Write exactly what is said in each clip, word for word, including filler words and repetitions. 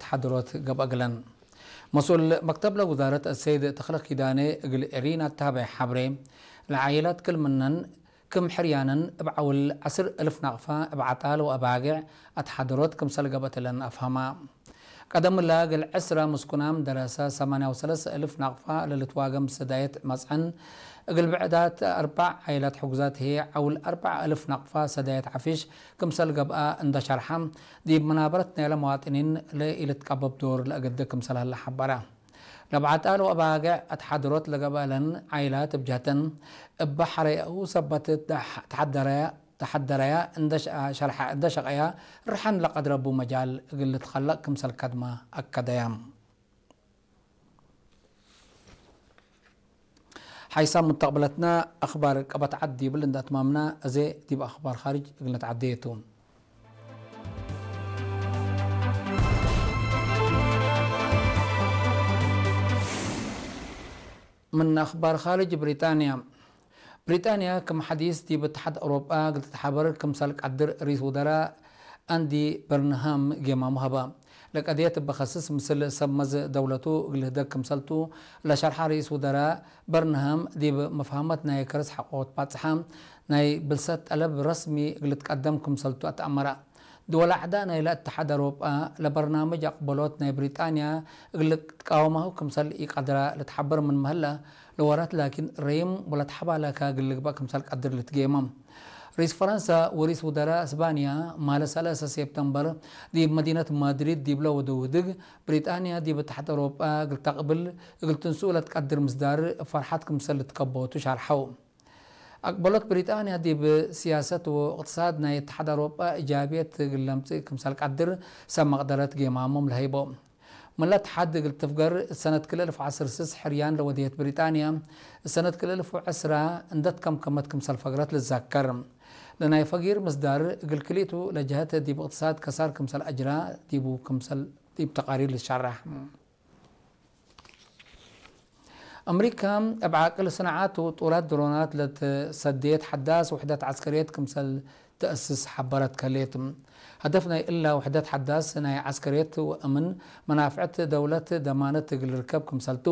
ተሓድሮት ገብአ እግለን። መስኡል መክተብ ለውዛረት አሰይድ ተኽለ ኪዳኔ እግል ኤሪና እተሀበየ ሐብሬ፣ ለዓይላት ክል ምነን ክም ሕርያነን እብ ዐውል ዐስር እልፍ ናቅፋ እብ ዐጣል ወአባጌዕ አትሓደሮት ክምሰል ገብአት እለን አፍሀማ። ቀደም እላ እግል ዕስራ ምስኩናም ደረሰ ሰማንያ ወሰለስ እልፍ ናቅፋ ለልትዋገም ሰዳየት መጽዐን፣ እግል ብዕዳት አርበዕ ዓይላት ሕጉዛት ህዬ ዐውል አርበዕ እልፍ ናቅፋ ሰዳየት ዐፊሽ ክምሰል ገብአ እንደ ሸርሐ፣ ዲብ መናበረት ናይለ መዋጥኒን ለኢልትቀበብ ዶር ለአገደ ክምሰል ሀለ ሐበረ። ለብዓጣል ወአባገዕ አትሓደሮት ለገብአለን ዓይላት እብ ጀህተን፣ እበ ሐረየኡ ሰበት ተሐደረያ፣ ተሐደረያ እንደ ሸ-፣ ሸርሐ እንደ ሸቀያ ርሐን ለቀድረቡ መጃል እግል ልትከለቅ ክምሰል ከድመ አከደያ። ሓይሳም ሙተቅብለትና አክባር ቀበት ዐድ ዲብል እንደ አትማምና፣ አዜ ዲብ አክባር ካርጅ እግል ነትዓደየ ቱ። ምን አክባር ካርጅ ብሪጣንያ። ብሪጣንያ ክም ሐዲስ ዲብ እትሓድ አውሮጳ እግል ትትሓበር ክምሰል ቀድር ርኢስ ውዘራ አንዲ በርንሃም ጌማሙ ሀበ። ለቀድየት እበ ከስስ ምስል ሰብ መዝ ደውለቱ እግል ህደግ ክምሰልቱ ለሸርሐ ርኢስ ውዘራ በርንሃም፣ ዲብ መፍሀመት ናይ ከርስ ሐቆት ባጽሓ ናይ ብልሰት ጠለብ ረስሚ እግል ልትቀደም ክምሰልቱ አትአመረ። ድወል አዕዳእ ናይለ እትሓድ አውሮጳ ለበርናምጅ አቅበሎት ናይ ብሪጣንያ እግል ልትቃወማሁ ክምሰል ኢቀድራ ልትሓበር ምንመ ህለ፣ ለወራት ላኪን ረይም ወለትሐባላከ እግል ልግበእ ክምሰል ቀድር ልትጌመ። ርኢስ ፈረንሳ ወርኢስ ውዘራእ እስባንያ ማለ ሰለሰ ሴፕተምበር ዲብ መዲነት ማድሪድ ዲብለ ወደው ህድግ፣ ብሪጣንያ ዲብ እትሓድ አውሮጳ እግል ተቅብል እግል ትንስኡ ለትቀድር ምስዳር እብ ፈርሐት ክምሰል ልትከበቱ ሻርሐው። አቅበሎት ብሪጣንያ ዲብ ሲያሰት ወእቅትሳድ ናይ እትሓድ አውሮጳ እጃብየት እግል ለምጽእ ክምሰል ቀድር ሰብ መቅደረት ጌማሞም ለሀይቦ። ምን ለትሓድ እግል ትፍገር፣ እት ሰነት ክልኤ እልፍ ወዐስር ስስ ሕርያን ለወድየት ብሪጣንያ፣ እት ሰነት ክልኤ እልፍ ወዐስራ እንደ ትከምከመት ክምሰል ፈግረት ልትዘከር። ለናይ ፈጊር ምስዳር እግል ክልኢቱ ለጀሀት ዲብ እቅትሳድ ከሳር ክምሰል አጅራ ዲቡ ክምሰል ዲብ ተቃሪር ልትሸረሕ። አምሪካ እብ ዓቅል ስንዓት ወጡራት ድሮናት ለትሰዴት ሐዳስ ውሕደት ዐስከርየት ክምሰል ተአስስ ሐበረት ከሌት። ሀደፍ ናይ እላ ውሕደት ሐዳስ ናይ ዐስከርየት ወአምን መናፍዕት ደውለት ደማነት እግል ልርከብ ክምሰልቱ፣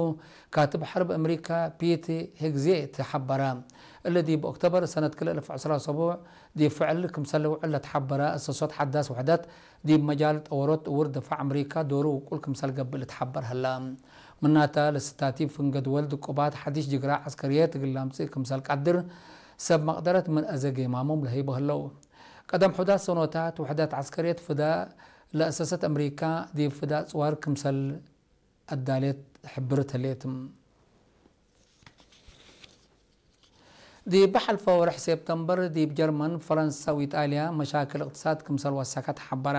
ካትብ ሐርብ አምሪካ ፒት ሄግሴት ሐበረ። እሊ ዲብ ኦክቶበር ሰነት ክልኤ እልፍ ወዐስራ ሰቡዕ ዲብ ፍዕል ክምሰል ልውዕል ለትሐበረ አሰሶት ሐዳስ ውሕደት፣ ዲብ መጃል ጠወሮት እውር ድፋዕ አምሪካ ዶሩ ውቁል ክምሰል ገብእ ልትሐበር ሀላ። ምናተ፣ ለስታቲፍ ፍንገ ድወል ድቁባት ሐዲስ ጅግራ ዐስከርየት እግል ለምጽእ ክምሰል ቀድር፣ ሰብ መቅደረት ምን አዜ ጌማሞም ለህይቦ ህለው። ቀደም ሑዳት ሰኖታት ውሕደት ዐስከርየት ፍዳ ለአሰሰት አምሪካ፣ ዲብ ፍዳ ጽዋር ክምሰል አዳሌት ሕብርት ህሌት። ዲብ ሐልፈ ወርሕ ሴፕተምበር፣ ዲብ ጀርመን፣ ፈረንሳ ወኢጣልያ መሻክል እቅትሳድ ክምሰል ወሰከ ተሐበረ።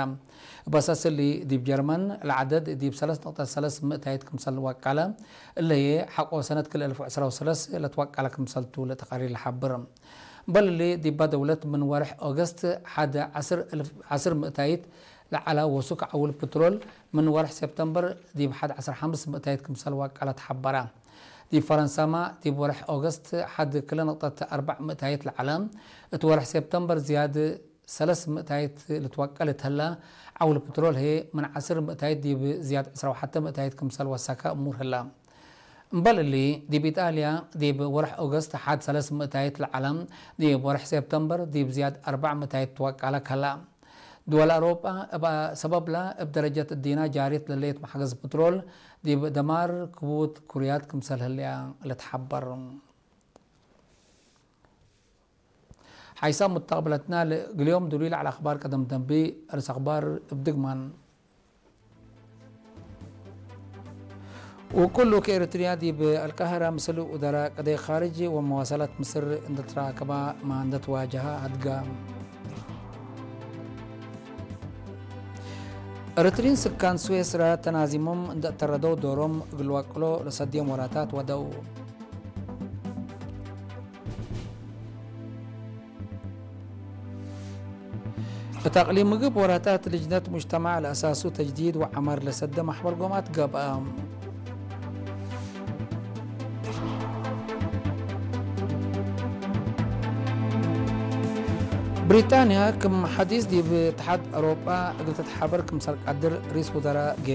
በሰስ እሊ፣ ዲብ ጀርመን ለዐደድ ዲብ ሰለስ ነቅጠት ሰለስ ምእታይት ክምሰል ወቀለ። እለ ህዬ፣ ሐቆ ሰነት ክልኤ እልፍ ወዐስራ ወሰለስ ለትወቀለ ክምሰልቱ ለተቃሪር ለሐብር። እምበል እሊ፣ ዲባ ደውለት ምን ወርሕ ኦገስት ሐድ ዐስር እልፍ፣ ዐስር ምእታይት ለዐለ ወሱክ ዐውል ፕትሮል፣ ምን ወርሕ ሴፕተምበር ዲብ ሐድ ዐስር ሐምስ ምእታይት ክምሰል ወቀለ ተሐበረ። ዲብ ፈረንሳማ፣ ዲብ ወርሕ ኦገስት ሐድ ክለ ነቅጠት አርበዕ ምእታይት ለዐለ፣ እት ወርሕ ሴፕተምበር ዝያድ ሰለስ ምእታይት ልትወቀል እት ህለ፣ ዐውል ፕትሮል ህዬ ምን ዐስር ምእታይት ዲብ ዝያድ ዕስራ ወሐተ ምእታይት ክምሰል ወሰከ እሙር ህለ። እምበል እሊ፣ ዲብ ኢጣልያ፣ ዲብ ወርሕ ኦገስት ሐድ ሰለስ ምእታይት ለዐለ፣ ዲብ ወርሕ ሴፕተምበር ዲብ ዝያድ አርበዕ ምእታይት ትወቀለ ከላ። ድወል አውሮጳ እብ ሰበብላ እብ ደረጀት እዲና ጃሪት ለሌት መሕገዝ ፕትሮል ዲብ ደማር ክቡት ኩርያት ክምሰል ህልያ ልትሐበር። ሓይሳም ሙተቅብለትና ለእግልዮም ዱሉይ ለዐለ አኽባር ቀደም ደንቢ። አርስ አኽባር እብ ድግማን። ውቁሉ ከኤሪትርያ ዲብ አልቃህራ ምስል ውደራ ቀደይ ካርጅ ወመዋሰላት ምስር እንደ ትራከባ ማ እንደ ትዋጀሃ አድጋ። ኤሪትሪን ስካን ስዌስራ ተናዚሞም እንደ እተረደው ዶሮም እግል ዋቅሎ ለሰድዮም ወራታት ወደው። እት አቅሊም ምግብ ወራታት ልጅነት ሙጅተማዕ ለአሳሱ ተጅዲድ ወዐመር ለሰደ መሕበር ጎማት ገብአ። ብሪጣንያ ክም ሐዲስ ዲብ እትሓድ አውሮጳ እግል ትትሓበር ክምሰል ቀድር ሪስ ውዘራ ጌማ።